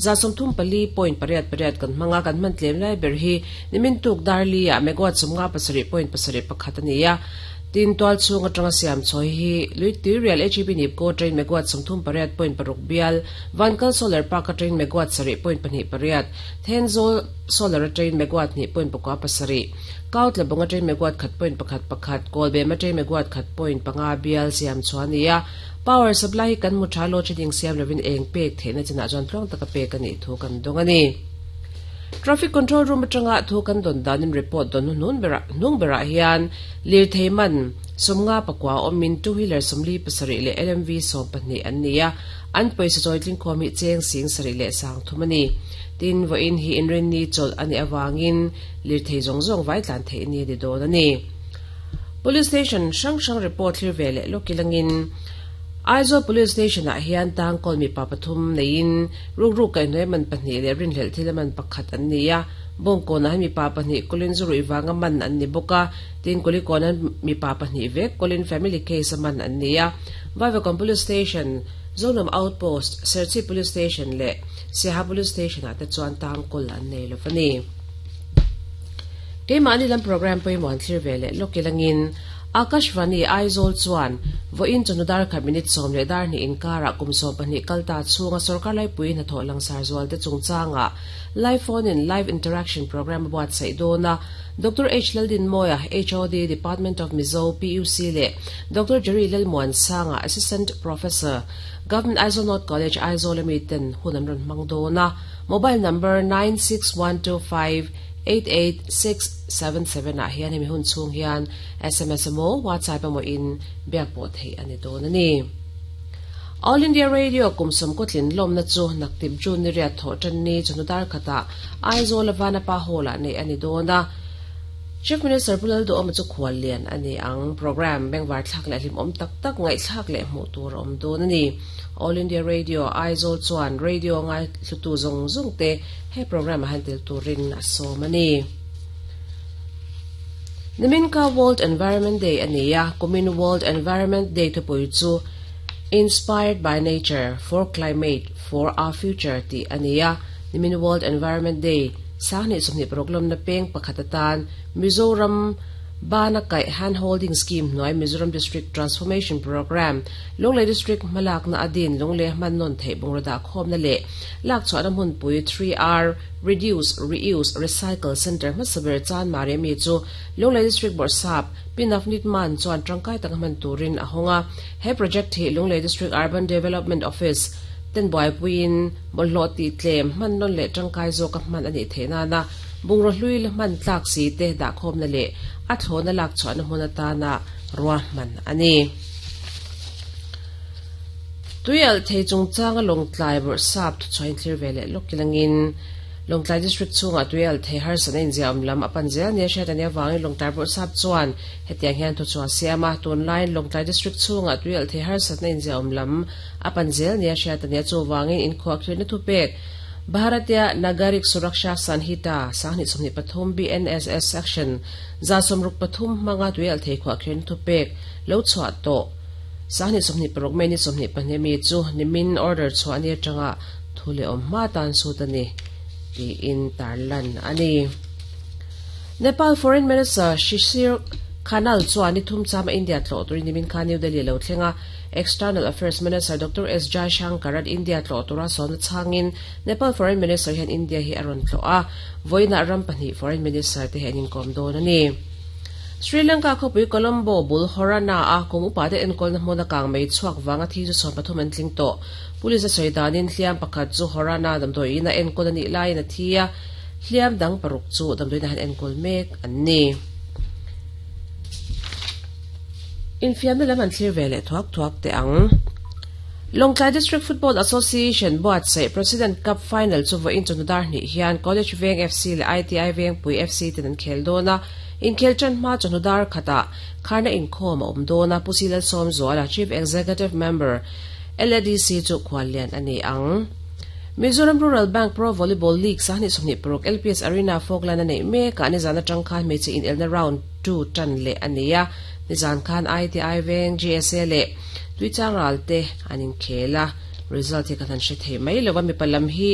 134.88 kan hmang a, kan hman tlem lai ber hi nimin tuk dar li ah megawatt 57.71 a ni a. Tin, tual chhung atanga siam chhawi hi lui tui rial HEP Nipco train megawatt 38.6 bial, Vankal Solar Park a train megawatt 7.28, Thenzawl Solar a train megawatt 2.7, Kautlabawng a train megawatt 1.11, Kawlbem a train megawatt 1.5 bial siam chhuah a ni a. Power supply hi kan hmu tha load shedding siam lovin eng pek theihna chinah chuan tluang taka pek a nih thu kan dawng a ni. Traffic control room atanga thu kan dawn danin report dawn hnuhnun berah hnung berah hian lirthei man 54 awmin two wheeler 47 leh LMV 12 an ni a, an pawisa chawi tlingkhawm hi cheng 73,030 a ni. Tin, vawiin hi inrinni chawlh a nih avangin lirthei zawng zawng vai tlan theih ni a ni dawn a ni. Police station hrang hrang report thlir ve leh lawk ilangin Aizawl Police Station ah hian tangkawl mipa pathum neiin rukruk kaihhnuai man pahnih leh rinhlelh thil a man pakhat an ni a. Bawngkawnah hian mipa pahnih kawlin zu ruih vanga man an ni bawk a, tin Kulikawn hian mipa pahnih vek kawlin family case a man an ni a. Vaivakawn Police Station, Zonuam Outpost, Serchhip Police Station leh Siaha Police Station ah te chuan tangkawl an nei lo va ni. Keimahni lam programme pawimawh an thlir ve leh lawk ilangin Akashvani Aizawl chuan vawiin chawhnu dar khat minute 10 leh dar 2 inkarah kum 12 kal ta chhunga sorkar laipui hnathawh langsar zualte chungchangah live phone in live interaction programme a buatsaih dawn a. Doctor H Laldinmawia, HOD, Department of Mizo, PUC leh Doctor Jerry Lalmuansanga, Assistant Professor, Government Aizawl North College, Aizawl ami ten hun an rawn hmang dawn a. Mobile number 96125 88677 ah hian hemi hun chhung hian sms emaw WhatsApp emaw in biak pawh theih a ni dawn a ni. All India Radio kum sawmkaw tlin lawmna chu naktip June ni riat thawh tan ni chawhnu dar khatah Aizawl a Vanapa Hall ah neih a ni dawn a. Chief Minister Pu Lalduhawma chu khual lian a ni ang. Programme bengvar thlak leh hlimawm tak tak ngaihthlak leh hmuh tur a awm dawn a ni. All India Radio Aizawl chuan radio ngaihlutu zawng zawng te He programme ah hian tel turin a sawm a ni. Nimin kha World Environment Day a ni a, kumin World Environment Day thupui chu Inspired by Nature, For Climate, For Our Future tih a ni a. Nimin World Environment Day 2026 lawmna peng pakhat atan Mizoram Bana kaih Hand Holding Scheme hnuai Mizoram District Transformation Programme Lunglei District hmalakna a din Lunglei hman nawn theih bungraw dahkhawmna leh Lakchhuahna hmunpui 3R, Reduce, Reuse, Recycle, Centre hmasa ber Chan Mariami chu Lunglei District Bawrhsap, Pi Navneet Mann chuan tangkai taka hman turin a hawng a. He project hi Lunglei District Urban Development Office ten buaipuiin bawlhhlawh tih tlem hman nawn leh tangkai zawka hman a nih theih nana bungraw hlui la hman tlak si te dahkhawmna leh a thlawhna lakchhuahna hmun atana ruahman a ni. Tuialh thei chungchanga Lawngtlai Bawrhsap thuchhuah inthlir ve leh lawk kilangin Lawngtlai District chhungah tuialh thei harsatna inziahawm lam a pan zel nia hriat a nih avangin Lawngtlai Bawrhsap chuan hetiang hian thuchhuah a siam a, tunlaiin Lawngtlai District chhungah tuialh thei harsatna inziahawm lam a pan zel nia hriat a nia chuvangin inkhuahkhirhna thupek Bharatiya Nagarik Suraksha Sanhita 2023 BNSS Section 163 hmanga tuialh thei khuahkhirhna thupek lo chhuah tawh 2026 May ni 24 mi chu nimin order chhuah ni atanga thu leh awm hma tan sut a ni tiin tarlan a ni. Nepal Foreign Minister Shishir Khanal chuan ni thum chama India tlawh turin nimin khan New Delhi lo thleng a, External Affairs Minister Doctor S Jaishankar an India tlawh tura sawmna chhangin Nepal Foreign Minister hian India hi a rawn tlawh a, vawiinah ram pahnih Foreign Minister te hi an inkawm dawn a ni. Sri Lanka khawpui Colombo bul Horana a kum upate enkawlna hmuna kang mei chhuak vanga thi chu 13 an tling tawh. Police a sawi danin hliam pakhat chu Horana damdawiin a enkawl a nih laiin a thi a, hliam dang paruk chu damdawiin a han enkawl mek an ni. Infiamna lam an thlir ve leh thuak thuak teh ang. Lawngtlai District Football Association buatsaih President Cup Final chu vawiin chawhnu dar hnih hian College Veng FC leh ITI Vengpui FC ten an khel dawn a. Inkhel tan hma chawhnu dar khatah kharna inkhawm a awm dawn a, Pu Si Lalsawmzuala, Chief Executive Member, LADC chu khuallian a ni ang. Mizoram Rural Bank Pro Volleyball League 2026 LPS Arena Falkland a neih mekah nizan atang khan hmeichhe inelna round 2 tan leh a ni a, nizan khan ITI Veng, GSA leh Tuichangral te an inkhel a, result hi kan han hre thei mai lo a, mipa lam hi.